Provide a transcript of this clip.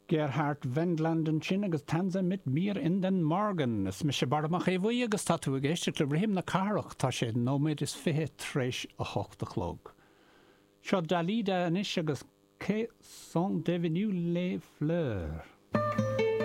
Gerhard Wendland ansin agus Tanze mit mir in den Morgen. Is mise Barra Mac Aodha Bhuí agus tá tú ag éisteacht le Rithim na Cathrach. Tá sé nóiméad is fiche tar éis a hocht a chlog. Seo Dalida anois agus Que sont devenues les fleurs?